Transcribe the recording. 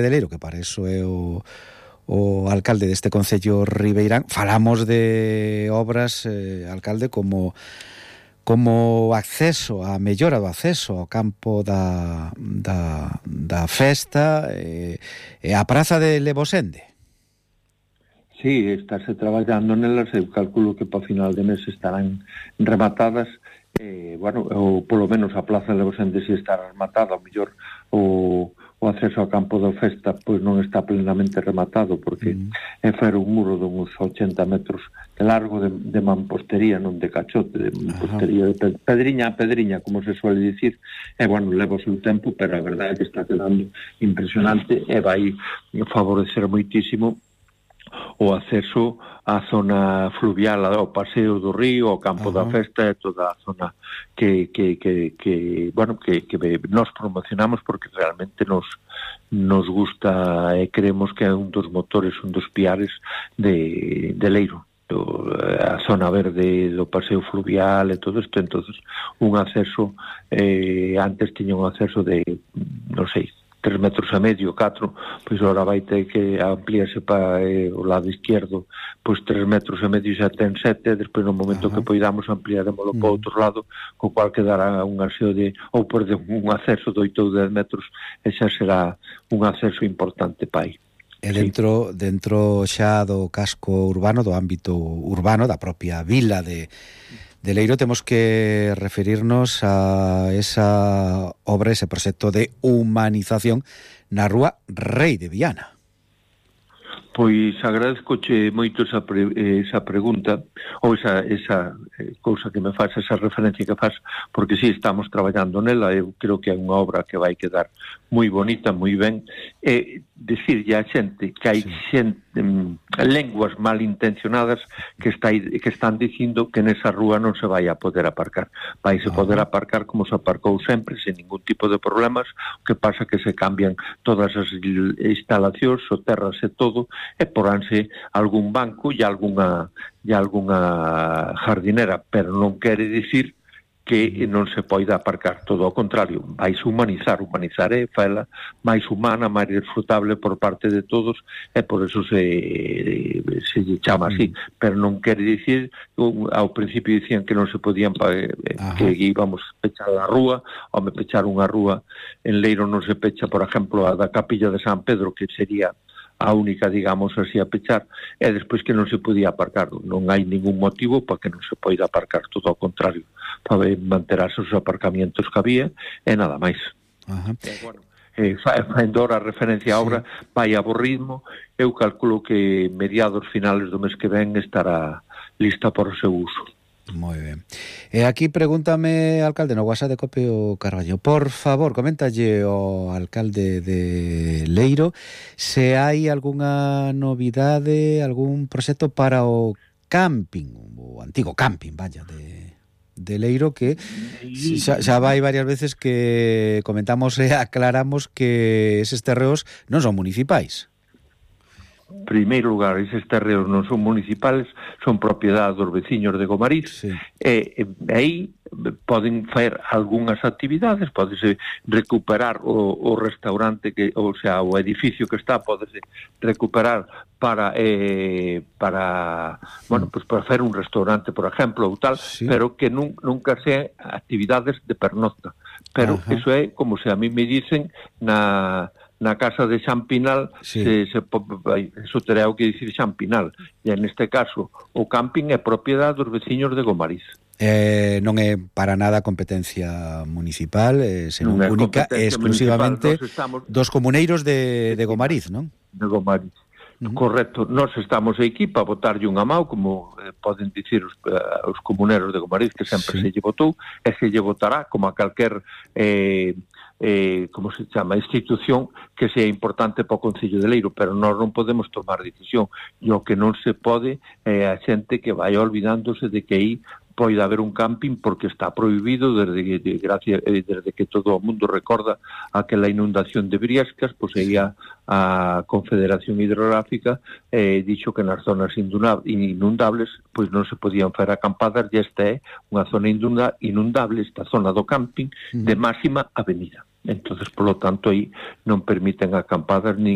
de Leiro, que para eso é o alcalde deste concello ribeirán. Falamos de obras, alcalde, como acceso, a mellora do acceso ao campo da festa e a praza de Levosende. Sí, estáse traballando nelas, eu calculo que para final de mes estarán rematadas, ou polo menos a plaza de Levosende si estará rematada, ao mellor o acceso ao campo da festa pois non está plenamente rematado, porque é fer un muro de uns 80 metros de largo de mampostería, non de cachote, de mampostería, de pedriña a pedriña, como se suele dicir, leva o seu tempo, pero a verdade é que está quedando impresionante e vai favorecer moitísimo o acceso á zona fluvial, ao paseo do río, ao campo da festa e toda a zona que nos promocionamos, porque realmente nos gusta e creemos que é un dos motores, un dos piares de Leiro, a zona verde do paseo fluvial e todo isto. Entonces un acceso, antes tiña un acceso de, non sei, 3 metros e medio, 4, pois agora vai ter que ampliarse para o lado izquierdo, pois 3 metros e medio xa ten 7, despois no momento que poidamos ampliaremoslo para outro lado, co cual quedará un acceso un acceso de 8 ou 10 metros, e xa será un acceso importante para aí. E dentro xa do casco urbano, do ámbito urbano, da propia vila de Leiro, temos que referirnos a esa obra, ese proxecto de humanización na rúa Rei de Viana. Pois agradezcoche moito esa pregunta, ou esa cousa que me faz, esa referencia que faz, porque sí, estamos traballando nela. Eu creo que é unha obra que vai quedar moi bonita, moi ben, e decirlle a xente que hai lenguas malintencionadas que están dicindo que nesa rúa non se vai a poder aparcar. Vai se poder aparcar como se aparcou sempre, sen ningún tipo de problemas. O que pasa que se cambian todas as instalacións, o terras e todo, e poránse algún banco e algunha jardinera, pero non quere dicir que non se poida aparcar, todo ao contrario, vais humanizar é faela máis humana, máis disfrutable por parte de todos, e por eso se chama así, pero non quere dicir, ao principio dicían que non se podían, que íbamos a pechar a rúa, ou me pechar unha rúa en Leiro non se pecha, por exemplo, a da Capilla de San Pedro, que sería a única, digamos así, a pechar, e despois que non se podía aparcar. Non hai ningún motivo para que non se poida aparcar, todo ao contrario, para manter os aparcamientos que había, e nada máis. Faendo a referencia á obra, vai a bo ritmo. Eu calculo que mediados finales do mes que ven estará lista para o seu uso. Moi ben. E aquí pregúntame, alcalde, no WhatsApp de Cope o Carballo, por favor, coméntalle ao alcalde de Leiro se hai algunha novidade, algún proxecto para o camping, o antigo camping, de Leiro, que xa vai varias veces que comentamos e aclaramos que eses terreos non son municipais. En primeiro lugar, eses terreos non son municipales, son propiedade dos veciños de Gomariz, e aí poden facer algunhas actividades, podese recuperar o restaurante, o edificio que está, podese recuperar para facer un restaurante, por exemplo, ou tal, pero que nunca sean actividades de pernocta. Pero eso é como se a mí me dicen na casa de Xan Pinal, eso terá o que dicir Xan Pinal, e neste caso o camping é propiedade dos veciños de Gomariz. Non é para nada competencia municipal, senón única e exclusivamente dos comuneiros de Gomariz, non? De Gomariz. Correcto, nós estamos aquí para botarlle unha mão, como poden dicir os comuneros de Gomariz, que sempre se lle votou, e se lle votará como a calquer como se chama, institución que sea importante para o Concello de Leiro, pero nós non podemos tomar decisión, e o que non se pode é a xente que vai olvidándose de que aí poida haber un camping, porque está prohibido desde que todo o mundo recorda aquela inundación de Briascas, pois aí a Confederación Hidrográfica dixo que nas zonas inundables pois non se podían facer acampadas, e esta é unha zona inundable, esta zona do camping de máxima avenida. Entonces, por lo tanto, aí non permiten acampadas nin